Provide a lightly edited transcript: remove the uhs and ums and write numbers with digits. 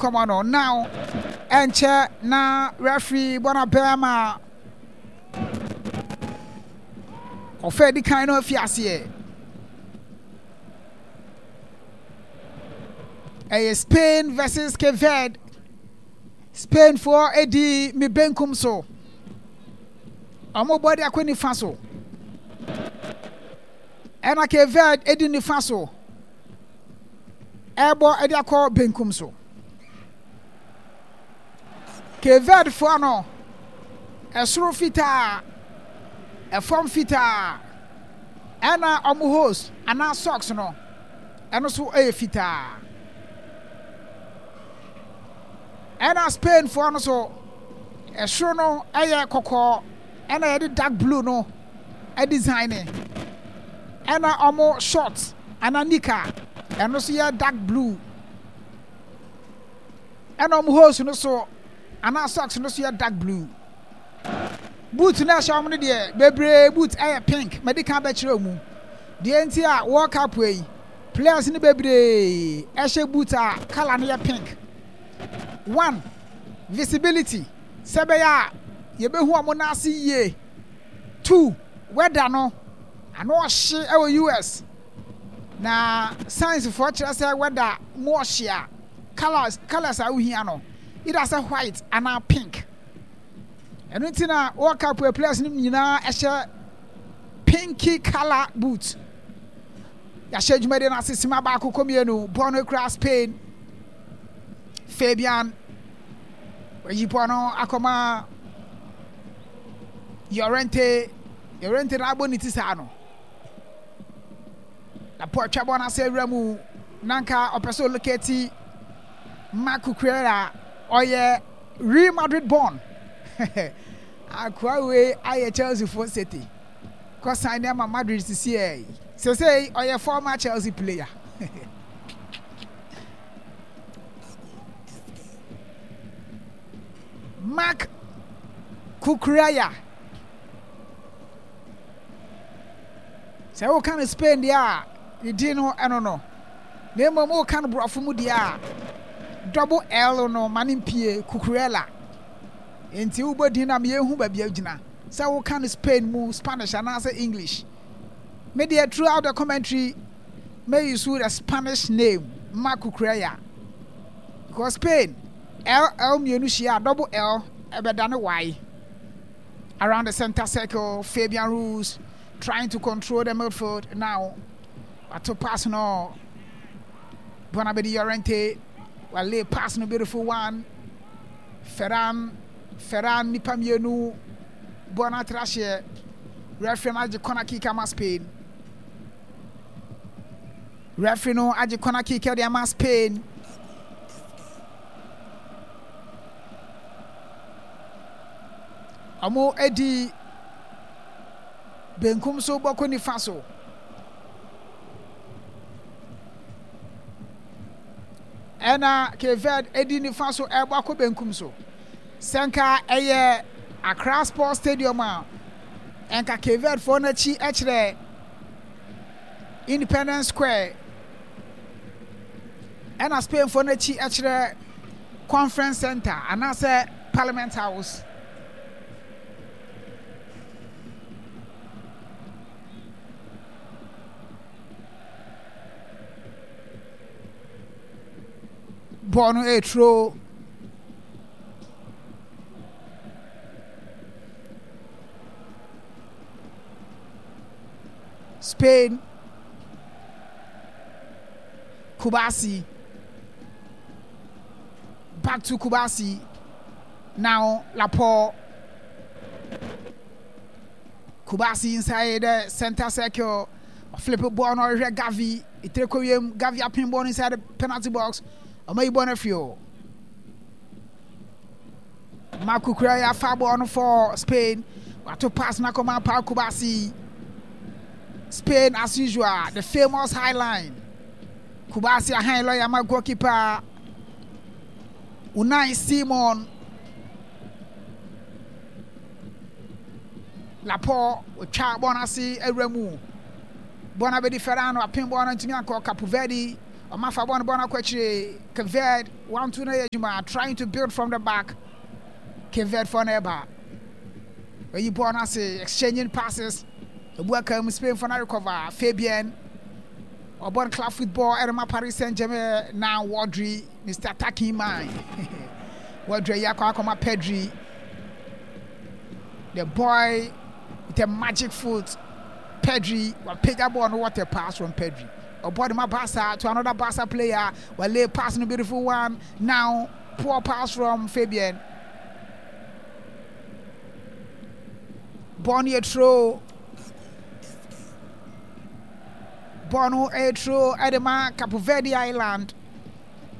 Nkɔmmɔ no now ɛnkyɛ na referee bɔ no abɛn ama ɔfɛ adi kan no afi aseɛ. Ɛyɛ Spain versus Cape Verde. Spainfoɔ edi me benkum so. Wɔn bɔ de akɔ nifa so. Ɛna Cape Verde edi nifa so. Ɛrebɔ de akɔ benkum so. Cape Verdefoɔ no, ɛsoro fitaa, ɛfam fitaa, ɛna wɔn hose anaa socks no, ɛno nso yɛ fitaa. Ɛna Spainfoɔ no so, ɛsoro no yɛ kɔkɔɔ, ɛna yɛde dark blue no design ɛna wɔn short anaa nika ɛno nso yɛ dark blue ɛna wɔn hose no so anaa socks no so yɛ dark blue. Boot no ɛhyɛ wɔn no deɛ bebree boot ɛyɛ pink mɛde kan bɛkyerɛ mu deɛ nti a World Cup yi players no bebree ɛhyɛ boot a colour no yɛ pink. One visibility sɛ ɛbɛyɛ a yɛbɛhu wɔn nan ase yie. 2, Weather no, ano ɔhye wɔ US. Na science foɔ kyerɛ sɛ weather mu ɔhye a, colours, colours a wohia no, either sɛ white anaa pink. Ɛno nti na World Cup players no nyinaa ɛhyɛ pinky colour boot. Yɛahyɛ dwumadie no ase sima baako kɔ mmienu, bɔɔl no kura Spain. Fabian wayi bɔɔl no akɔma Llorente. Llorente na abɔ ne ti saa no. Na Paul twa bɔɔl no ase awura mu na nka ɔpɛ sɛ oloketi Marc Cucurella ɔyɛ Real Madrid born. Akoa wei ayɛ Chelsea fo sete. Kɔ sign ama Madrid sisi ɛ. Sesei ɔyɛ former Chelsea player. Marc Cucurella. Sɛ woka no Spain deɛ a, ne din no ɛno no. Na mmom woka no borɔfo mu deɛ a, double L no ma no mpie, Cucurella. Enti wobɔ din no a ma yɛnhu baabi a wogyina. Sɛ woka no Spain mu, Spanish anaasɛ English. Me deɛ throughout the commentary, mɛ use the Spanish name, Marc Cucurella. Because Spain, L L mmienu hyia a, double L ɛbɛdane Y. Around the center circle, Fabian Ruiz trying to control the midfield now. Wato pass no. Bonabedi Llorente. Wale pass no beautiful one. Ferran Ferran nipa mmienu. Bɔɔl no atra hyeɛ. Referee no agye corner kick ama Spain. Referee no agye corner kick de ama Spain. Wɔadi benkum so bɔkɔ nifa so. Ɛna Cape Verde adi nifa so ɛrebɔ akɔ benkum so. Sɛ nka ɛyɛ Accra Sports Stadium a, nka Cape Verde foɔ no akyi kyerɛ Independence Square. Ɛna Spain foɔ no akyi kyerɛ Conference Center anaasɛ Parliament House. Bɔɔl no ɛreturo. Spain, Kubasi. Back to Kubasi. Now Laporte. Kubasi inside the center circle. Flip ball no ɔhwehwɛ Gavi. Etire kɔ wiem. Gavi apem ball no inside the penalty box. Ɔma yi ball no afiri hɔ. Marc Cucurella afa ball no for Spain. Wato pass no akɔma Pau Kubasi. Spain as usual, the famous high line. Kubasi ahan lɔya ma goalkeeper Unai Simon. Laporte otwa bɔɔl no ase awura mu. Bɔɔl no abɛdi Ferran, apem bɔɔl no ntumi ankɔ. Capo Verde Ɔma fa bɔɔl no bɔɔl no akɔ akyire. Cape Verde 1-2 no yɛ adwuma. Trying to build from the back. Cape Verde fɔ no ɛba. Oyi bɔɔl no ase. Exchanging passes. Ebu aka mu Spain fɔ no recover. Fabian. Ɔbɔ no club football ɛde ma Paris Saint-Germain. Now Rodri, Mr. Attacking Man. Rodri ayi akɔ akɔma Pedri. The boy with a magic foot. Pedri, wapagya bɔɔl no what a pass from Pedri. Ɔbɔ de ma Barca to another Barca player. Wale pass no beautiful one. Now poor pass from Fabian. Bɔɔl no yɛ throw. Bɔɔl no yɛ throw ɛde ma Cape Verde Island.